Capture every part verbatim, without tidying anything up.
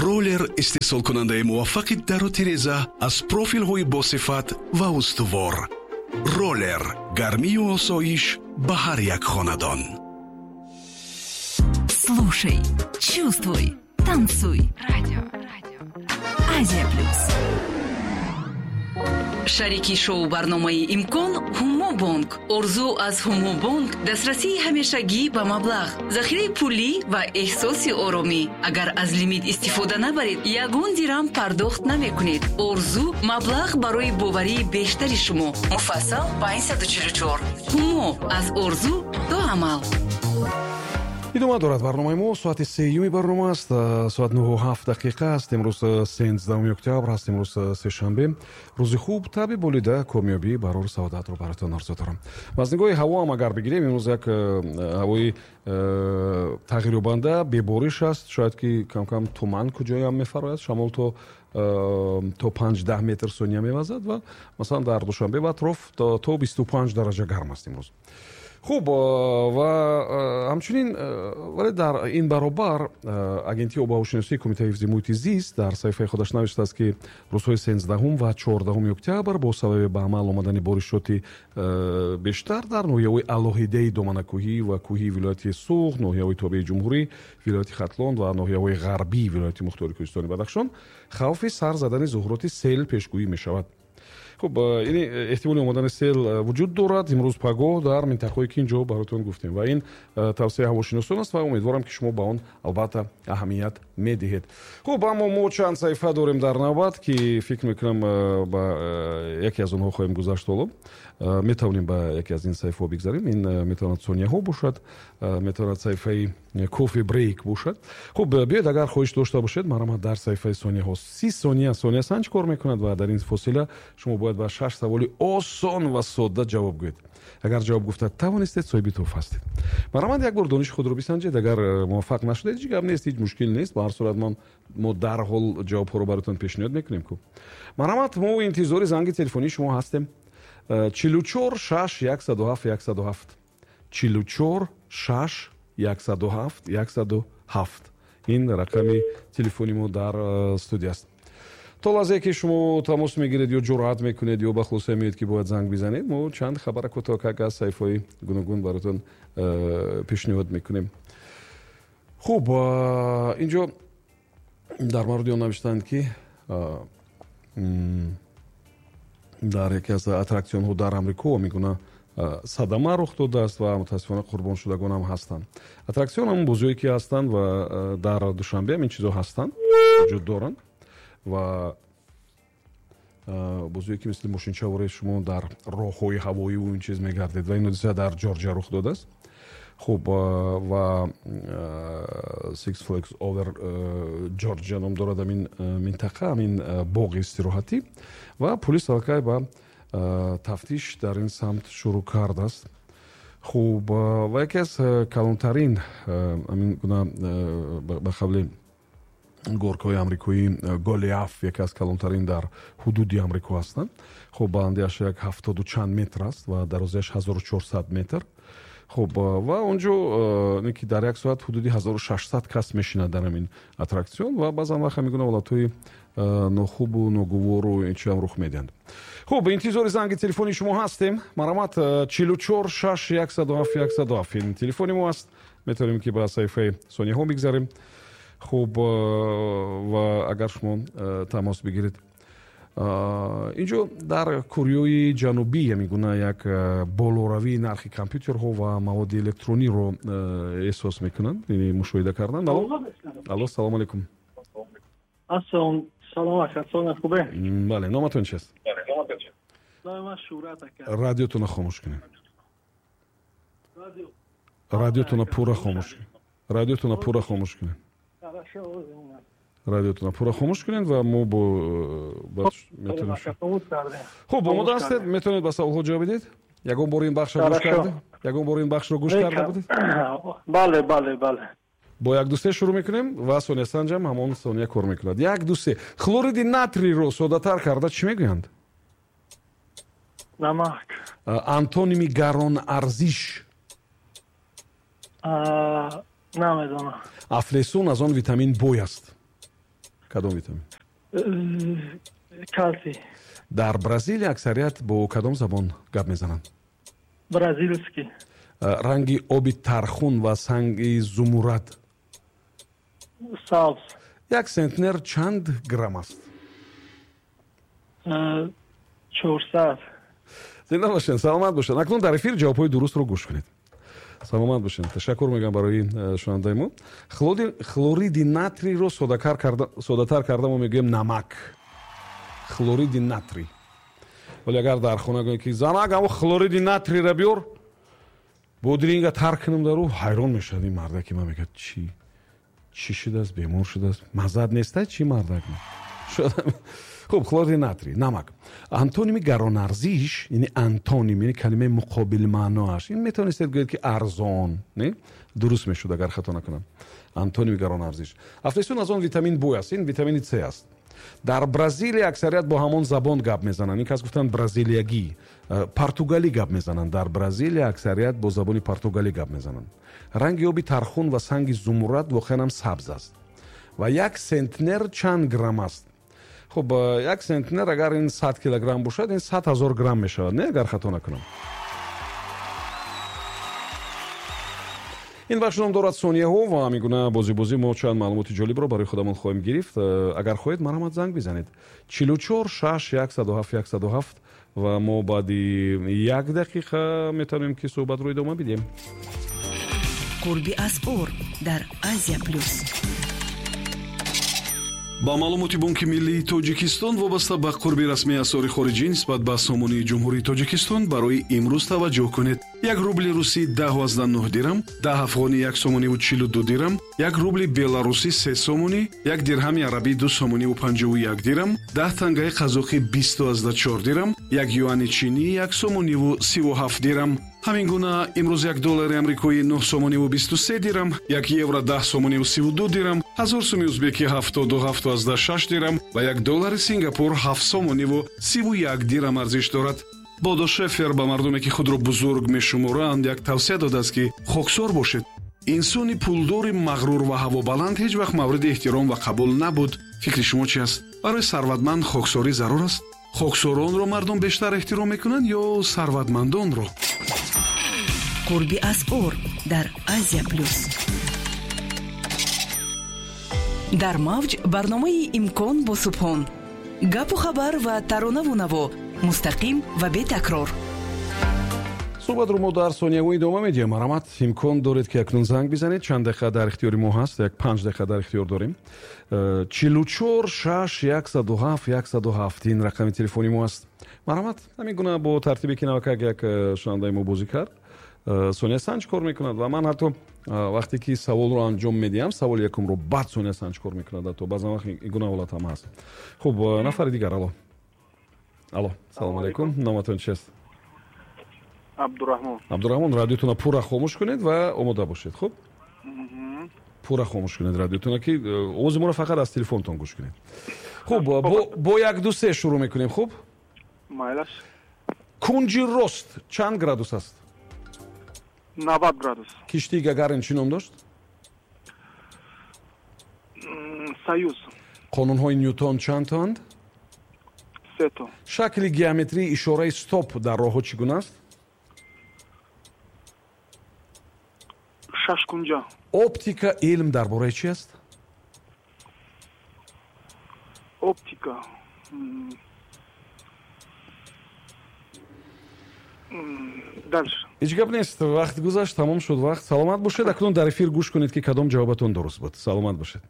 Роллер истеҳсолкунандаи муваффақи дару тиреза аз профилҳои босифат ва устувор. Роллер гармию осоиш ба ҳар як хонадон. Слушай, чувствуй, танцуй. Радио. Азия Плюс. Шарики шоу барномаи «Имкон» Ҳумобонк. Орзу аз Ҳумобонк дастрасии ҳамешагӣ ба маблағ, захираи пулӣ ва эҳсоси оромӣ. Агар аз лимит истифода набаред, ягон дирам пардохт намекунед. Орзу маблағ барои боварии бештари шумо. Муфассал панҷсаду чилу чор. Ҳумо аз орзу то амал. Идома дорад барномаи мо. Соати сеюми барнома аст, соат нӯҳу ҳафт дақиқа аст. Имрӯз сенздаҳуми октябр аст, имрӯз сешанбе. Рӯзи хуб, табъи болида, комёбӣ, барору саодатро бароятон орзу дорам. Ва аз нигоҳи ҳаво ҳам агар бигирем, имрӯз як ҳавои тағйирёбанда, бебориш аст. Шояд ки камкам туман куҷоям мефарояд. Шамол то то панҷ даҳ метр сония мевазад ва масалан дар Душанбе ва атроф то бисту панҷ дараҷа гарм аст имрӯз. Хуб, ва ҳамчунин, вале дар ин баробар Агентии обуҳавошиносии Кумитаи ҳифзи муҳити зист дар саҳифаи худаш навиштааст, ки рӯзҳои сенздаҳум ва чордаҳуми октябр бо сабаби ба амал омадани боришоти бештар дар ноҳияҳои алоҳидаи доманакӯҳӣ ва кӯҳии вилояти Суғд, ноҳияҳои тобеи ҷумҳурӣ, вилояти Хатлон ва ноҳияҳои ғарбии вилояти мухтори Кӯҳистони Бадахшон хавфи сар задани зуҳуроти сел пешгӯӣ мешавад. Хуб, ин эҳтимоли омадани сел вуҷуд дорад имрӯз, пагоҳ дар минтақаҳое ки ин ҷо бароятон гуфтем. Ва ин тавсияи ҳавошиносон аст ва умедворам, ки шумо ба он албатта аҳамият медиҳед. Хуб, аммо мо чанд саҳифа дорем дар навбат, ки фикр мекунам, ба яке аз онҳо хоҳем гузашт. Ҳоло метавонем ба яке аз ин саҳифаҳо бигзарем. Ин метавонад сонияҳо бошад, метавонад саҳифаи кофе брейк бошад. Хуб, биёед, агар хоҳиш дошта бошед, марҳамат, дар саҳифаи сонияҳо. Си сония сониясанҷ кор мекунад ва дар ин фосила шумо бояд ба шаш саволи осон ва содда ҷавоб гӯед. Агар ҷавоб гуфта тавонистед, соҳиби тӯҳфа ҳастед. Марҳамат, як бор дониши худро бисанҷед. Агар муваффақ нашудед, ҳеҷ гап нест, ҳеҷ мушкил нест. Ба ҳар сурат ман мо дарҳол ҷавобҳоро бароятон пешниҳод мекунем ку. Марҳамат, мо интизори занги телефонии шумо ҳастем. Чилу чор шаш яксаду ҳафт яксаду ҳафт, чилу чор шаш яксаду ҳафт яксаду ҳафт, ин рақами телефони мо дар студия аст. То лаҳзае ки шумо тамос мегиред ё ҷуръат мекунед ё ба хулоса меоед, ки бояд занг бизанед, мо чанд хабара кӯтоҳак аз саҳифаҳои гуногун бароятон пешниҳод мекунем. Хуб, инҷо дар мавриди он навиштанд, ки дар яке аз аттраксионҳо дар Амрико мегуна садама рух додааст ва мутаассифона қурбоншудагон ҳам ҳастанд. Аттраксион ҳамон бозиҳое ки ҳастанд ва дар Душанбе ҳам ин чизо ҳастанд, вуҷуд доранд ва бозиҳое ки мисли мошинчаворе шумо дар роҳҳои ҳавоиву ин чиз мегардед. Ва ин ҳодиса дар Ҷорҷия рух додааст. Хуб, ва Six Flags Over Georgia ном дорад ҳамин минтақа, ҳамин боғи истироҳатӣ. Ва пулис аллакай ба тафтиш дар ин самт шурӯъ кардааст. Хуб, ва яке аз калонтарин ҳамин гуна, ба қавли горкаҳои амрикоӣ, Голиаф, яке аз калонтарин дар ҳудуди Амрико ҳастанд. Хуб, баландиаш як ҳафтоду чанд метр аст ва дарозиаш ҳазору чорсад метр. Хуб, ва он ҷо ки дар як соат ҳудуди ҳазору шашсад кас мешинад дар ҳамин аттраксион ва баъзан вақт ҳамин гуна ҳолатҳои нохубу ногувору ин чиам рух медиҳанд. Хуб, интизори занги телефони шумо ҳастем. Марҳамат, чилу чор шаш яксаду ҳафт яксаду ҳафт, ин телефони мо аст. Метавонем ки ба саҳифаи сонияҳо бигзарем. Хуб, ва агар шумо тамос бигиред, инҷо дар Кореои Ҷанубӣ ҳамин гуна як болоравии нархи компютерҳо ва маводи электрониро эҳсос мекунанд, яъне мушоҳида карданд. Алло, алло, салому алейкум. Бале, номатон чист? Радиотона хомӯш кунед, радиотона пурра хомӯш, радиотона пурра хомӯш кунед, радиотона пурра хомӯш кунед ва мо бо метавонем. Хуб, омода ҳастед? Метавонед ба саволҳо ҷавоб бидиҳед? Ягон бор ин бахшро гӯш карда, ягон бор ин бахшро гӯш карда будед? Бале, бале, бале. Бо як, ду, се шурӯъ мекунем ва сониясанҷам ҳамон сония кор мекунад. Як, ду, се. Хлориди натриро соддатар карда чӣ мегӯянд? Намак. Антоними гаронарзиш? Намедонам. Афлесун аз он витамин бой аст? Кадом витамин? Калсий. Дар Бразилия аксарият бо кадом забон гап мезананд? Бразильский. Ранги оби тархун ва санги зумуррад? Сабз. Як сентнер чанд грамм аст? Чорсад. Зинда бошед, саломат бошед. Акнун дар эфир ҷавобҳои дурустро гӯш кунед. Саломат бошед. Ташаккур мегӯям барои шунавандаи мо. Хлориди натриро содатар карда мо мегӯем намак. Хлориди натрий. Вале агар дар хона гӯем ки занак ҳамо хлориди натриро биёр, бодринга тар кунам дар ӯ, ҳайрон мешавад ин мардак, ки ман мегӯяд чӣ чӣ шудааст, бемор шудааст, маззат неста чӣ мардак? Хуб, хлориди натрий, намак. Антоними гаронарзиш, яъне антоним, яъне калимаи муқобил маъноаш. Ин метавонистед гӯед ки арзон, не? Дуруст мешуд агар хато накунам. Антоними гаронарзиш. Афлесун аз он витамин Б аст, ин витамини С аст. Дар Бразилия аксарият бо ҳамон забон гап мезананд. Ин кас гуфтанд бразилиягӣ, португалӣ гап мезананд. Дар Бразилия аксарият бо забони португалӣ гап мезананд. Ранги оби тархун ва санги зумуррад воқеан ҳам сабз аст. Ва як сентнер чанд грамм аст? Хуб, як сентнер агар ин сад килограмм бошад, ин сад ҳазор грамм мешавад, не, агар хато накунам. Ин бахш ном дорад сонияҳо ва ҳамин гуна бозибозӣ мо чанд маълумоти ҷолибро барои худамон хоҳем гирифт. Агар хоҳед, марҳамат занг бизанед. чилу чор шаш яксаду ҳафт яксаду ҳафт ва мо баъди як дақиқа метавонем ки суҳбатро идома бидиҳем. Қурби асъор дар Азия Плюс. Ба маълумоти Бонки Миллии Тоҷикистон вобаста ба қурби расмии асъори хориҷӣ нисбат ба сомонии Ҷумҳурии Тоҷикистон барои имрӯз таваҷҷӯҳ кунед. Як рубли русӣ даҳу аздаҳ нӯҳ дирам, даҳ афғонӣ як сомониву чилу ду дирам, як рубли беларусӣ се сомонӣ, як дирҳами арабӣ ду сомониву панҷоҳу як дирам, даҳ тангаи қазоқӣ бисту аздаҳ чор дирам, як юани чинӣ як сомониву сиву ҳафт дирам. Ҳамин гуна имрӯз як доллари амрикоӣ нӯҳ сомониву бисту се дирам, як евро даҳ сомониву сиву ду дирам, ҳазор суми узбекӣ ҳафтоду ҳафту аздаҳ шаш дирам ва як доллари Сингапур ҳафт сомониву сиву як дирам арзиш дорад. Бодо Шефер ба мардуме ки худро бузург мешуморанд як тавсия додааст ки хоксор бошед. Инсони пулдори мағрур ва ҳавобаланд ҳеҷ вақт мавриди эҳтиром ва қабул набуд. Фикри шумо чи аст? Барои сарватманд хоксорӣ зарур аст? Хоксоронро мардум бештар эҳтиром мекунанд ё сарватмандонро? Қурби асъор дар Азия Плюс. Дар мавҷ барномаи Имкон бо Субҳон. Гапу хабар ва таронаву наво мустақим ва бетакрор. Суҳбатро мо дар сонияҳо идома медиҳем. Марҳамат, имкон доред ки акнун занг бизанед. Чанд дақиқа дар ихтиёри мо ҳаст, як панҷ дақиқа дар ихтиёр дорем. Чилу чор шаш яксаду ҳафт яксаду ҳафт ин рақами телефони мо аст. Марҳамат, ҳамин гуна бо тартибе ки навакак як шунавандаи мо бозӣ кард, Сония Санҷ кор мекунад ва ман ҳатто вақте ки саволро анҷом медиҳам, саволи якумро баъд Сония Санҷ кор мекунад, ҳатто баъзан вақт ин гуна ҳолат ҳам ҳаст. Хуб, нафари дигар. Алло, алло, салому алайкум. Номатон чист? Абдурраҳмон. Абдурраҳмон, радиотонро пурра хомӯш кунед ва омода бошед. Хуб, пурра хомӯш кунед радиотонро, ки овози моро фақат аз телефонтон гӯш кунед. Хуб, бо як ду се шурӯъ мекунем. Хуб, майлаш. Кунҷи рост чанд градус аст? навад градус. Киштии Гагарин чӣ ном дошт? Союз. Қонунҳои Нютон чанд тоанд? Се то. Шакли геометрии ишораи стоп дар роҳҳо чӣ гуна аст? Шашкунҷа. Оптика илм дар бораи чӣ аст? Оптика. Дальше. Ҳеҷ гап нест, вақт гузашт, тамом шуд вақт. Саломат бошед. Акнун дар эфир гӯш кунед ки кадом ҷавобатон дуруст буд. Саломат бошед.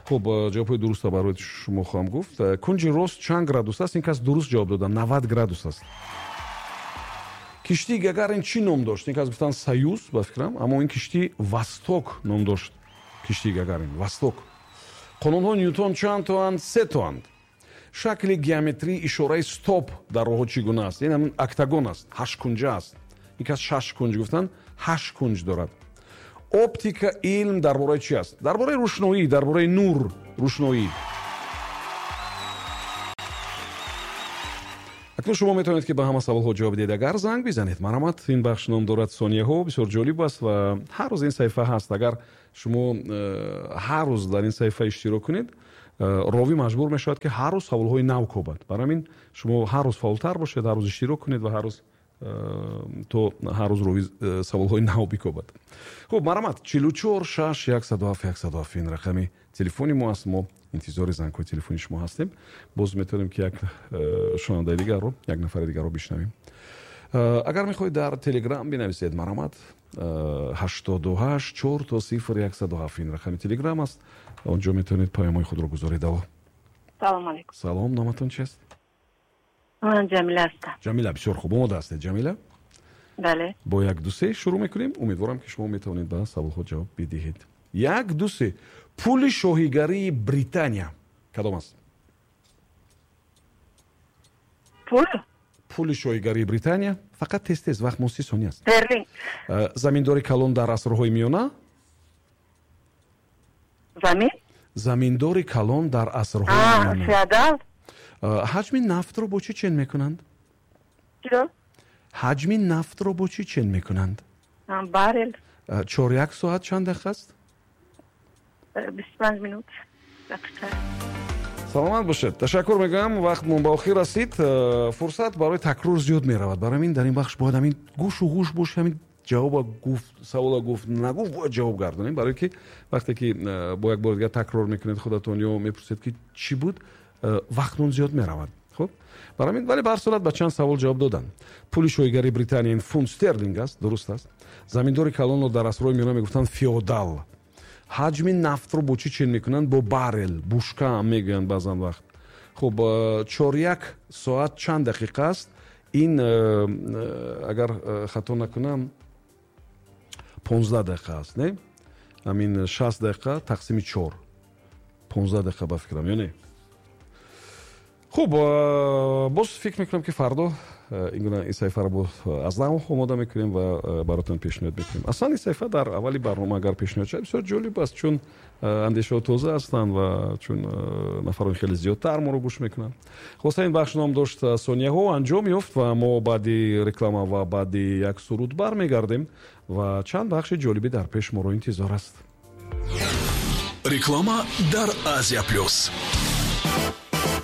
Хуб, ҷавобҳои дурустро барои шумо хоҳам гуфт. Кунҷи рост чанд градус аст? Ин кас дуруст ҷавоб дода, навад градус аст. Киштии Гагарин чӣ ном дошт? Ин кас гуфтанд Союз, ба фикрам, аммо ин киштӣ Восток ном дошт. Киштии Гагарин Восток. Қонунҳои Нютон чанд тоанд? Се тоанд. Шакли геометрии ишораи стоп дар роҳҳо чӣ гуна аст? Ин ҳамин октагон аст, ҳашткунҷа аст. Ин кас шаш кунҷ гуфтанд, ҳашт кунҷ дорад. Оптика илм дар бораи чӣ аст? Дар бораи рӯшноӣ, дар бораи нур, рӯшноӣ. Акнун шумо метавонед ки ба ҳама саволҳо ҷавоб диҳед агар занг бизанед. Марҳамат, ин бахш ном дорад сонияҳо, бисёр ҷолиб аст ва ҳар рӯз ин саҳифа ҳаст. Агар шумо ҳар рӯз дар ин саҳифа иштирок кунед, Ровӣ маҷбур мешавад, ки ҳар рӯз саволҳои нав кобад. Барои ҳамин шумо ҳар рӯз фаъолтар бошед, ҳар рӯз иштирок кунед ва ҳар рӯз то ҳар рӯз ровӣ саволҳои нав бикобад. Хуб, марҳамат, чилу чор шаш яксаду ҳафт яксаду ҳафт ин рақами телефони мо аст. Мо интизори зангҳои телефони шумо ҳастем. Боз метавонем, ки як шунавандаи дигарро, як нафари дигарро бишнавем. Агар мехоҳед дар Телеграм бинависед, марҳамат, ҳаштоду ҳашт чор то сифр яксаду ҳафт ин рақами Телеграм аст. Онҷо метавонед паёмҳои худро гузоред. Алло. Салом алейкум. Салом, номатон чист? Ман Ҷамила ҳастам. Ҷамила, бисёр хуб, омода ҳастед, Ҷамила? Бале. Бо як ду се шурӯъ мекунем. Умедворам, ки шумо метавонед ба саволҳо ҷавоб бидиҳед. Як ду се. Пули шоҳигарии Британия кадом аст? Пул? Пули шоҳигарии Британия. Фақат тез тез, вақт мо си сония аст. Стерлинг. Заминдори калон дар асрҳои миёна? Замин? Заминдори калон дар асрҳои миёна. Феодал. Ҳаҷми нафтро бо чӣ чен мекунанд? Чиро? Ҳаҷми нафтро бо чӣ чен мекунанд? Баррел. Чор як соат чанд дақиқа аст? бисту панҷ минут дақиқа. Саломат бошед. Ташаккур мегӯям. Вақтмон ба охир расид. Фурсат барои такрор зиёд меравад. Барои ҳамин дар ин бахш бояд ҳамин гӯшу гӯш бош, ҳамин ҷавоба гуфт, савола гуфт, нагуфт, бояд ҷавоб гардонем. Барои ки вақте ки бо як бор дигар такрор мекунед худатон ё мепурсед, ки чӣ буд, вақтмон зиёд меравад. Хуб, барои ҳамин, вале ба ҳар сурат ба чанд савол ҷавоб доданд. Пули шоҳигарии Британия ин фунт стерлинг аст, дуруст аст. Заминдори калонро дар асрҳои миёна мегуфтанд феодал. Ҳаҷми нафтро бо чӣ чен мекунанд? Бо баррел, бушка ҳам мегӯянд баъзан вақт. Хуб, чор як соат чанд дақиқа аст? Ин агар хато накунам понздаҳ дақиқа аст, не? Ҳамин шаст дақиқа тақсими чор. понздаҳ дақиқа ба фикрам, ё не? Хуб, боз фикр мекунам, ки фардо ин гуна ин саҳифаро боз аз нав омода мекунем ва баротон пешниҳод мекунем. Аслан ин саҳифа дар аввали барнома агар пешниҳод шавад, бисёр ҷолиб аст, чун андешаҳо тоза ҳастанд ва чун нафарони хеле зиёдтар моро гӯш мекунанд. Хулоса, ин бахш ном дошт сонияҳо анҷом ёфт ва мо баъди реклама ва баъди як суруд бармегардем ва чанд бахши ҷолибӣ дар пеш моро интизор аст. Реклама дар Азия Плюс.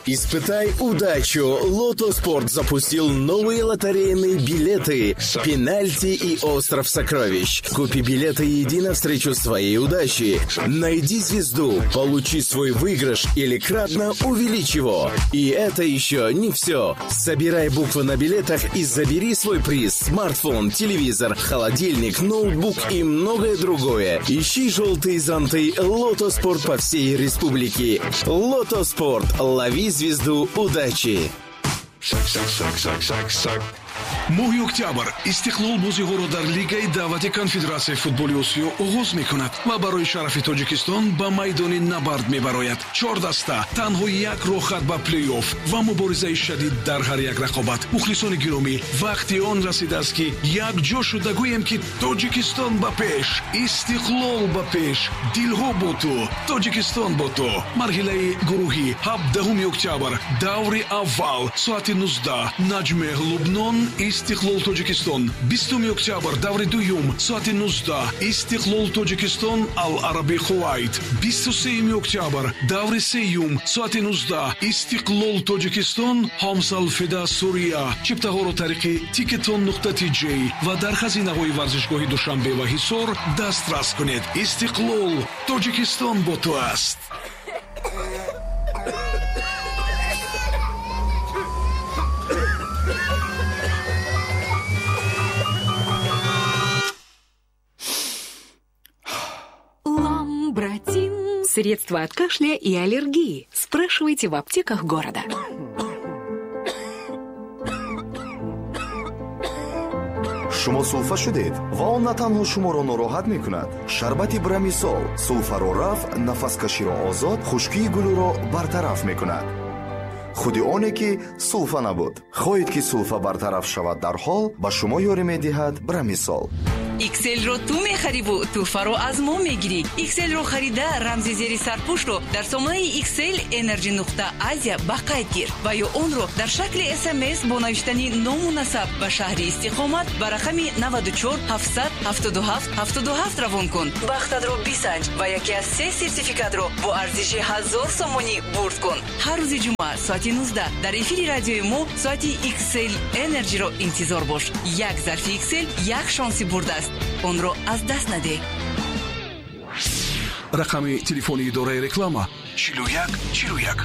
Испытай удачу! Лото Спорт запустил новые лотерейные билеты «Пенальти» и «Остров сокровищ». Купи билеты и иди навстречу своей удаче. Найди звезду, получи свой выигрыш или кратно увеличь его. И это еще не все. Собирай буквы на билетах и забери свой приз. Смартфон, телевизор, холодильник, ноутбук и многое другое. Ищи желтые зонты «Лото Спорт» по всей республике. Лото Спорт. Лови звезду удачи! Моҳи октябр Истиқлол бозиҳоро дар Лигаи даъвати Конфедератсияи футболи Осиё оғоз мекунад ва барои шарафи Тоҷикистон ба майдони набард мебарояд. Чор даста, танҳо як роҳхат ба плей-офф ва муборизаи шадид дар ҳар як рақобат. Мухлисони гиромӣ, вақти он расидааст, ки якҷо шуда гӯем, ки Тоҷикистон ба пеш, Истиқлол ба пеш, дилҳо бо ту, Тоҷикистон бо ту. Марҳилаи гурӯҳӣ ҳабдаҳуми октябр, даври аввал, соати нуздаҳ, Наҷмеҳ Лубнон, Истиқлол Тоҷикистон. Бистуми октябр, даври дуюм, соати нуздаҳ, Истиқлол Тоҷикистон, Ал-Араби Кувайт. Бисту сеюми октябр, даври сеюм, соати нуздаҳ, Истиқлол Тоҷикистон, Ҳомсалфида Сурия. Чиптаҳоро тариқи тикетон нуқта тж ва дар хазинаҳои варзишгоҳи Душанбе ва Ҳисор дастрас кунед. Истиқлол Тоҷикистон бо ту аст. Братин. Средства от кашля и аллергии. Спрашивайте в аптеках города. Шумо сулфа шудед ва он на танҳо шуморо нороҳат мекунад. Шарбати Брамисол сулфаро рафъ, нафаскаширо озод, хушкии гулӯро бартараф мекунад. Худи оне ки сулфа набуд. Хоҳед ки сулфа бартараф шавад дарҳол, ба шумо ёрӣ медиҳад Брамисол. Икселро ту мехариву тӯҳфаро аз мо мегирӣ. Икселро харида рамзи зери сарпӯшро дар сомонаи Иксел Energy нуқта Азия ба қайд гир ва ё онро дар шакли СМС бо навиштани ному насаб ба шаҳри истиқомат ба рақами наваду чор ҳафтсад ҳафтоду ҳафт ҳафтоду ҳафт равон кун. Бахтатро бисанҷ ва яке аз се сертификатро бо арзиши ҳазор сомонӣ бурд кун. Ҳар рӯзи ҷумъа соати нуздаҳ дар эфири радиои мо соати X L Energy-ро интизор бош. Як зарфи X L як шонси бурд аст. Онро аз даст надеҳ. Рақами телефони идораи реклама чилу як чилу як.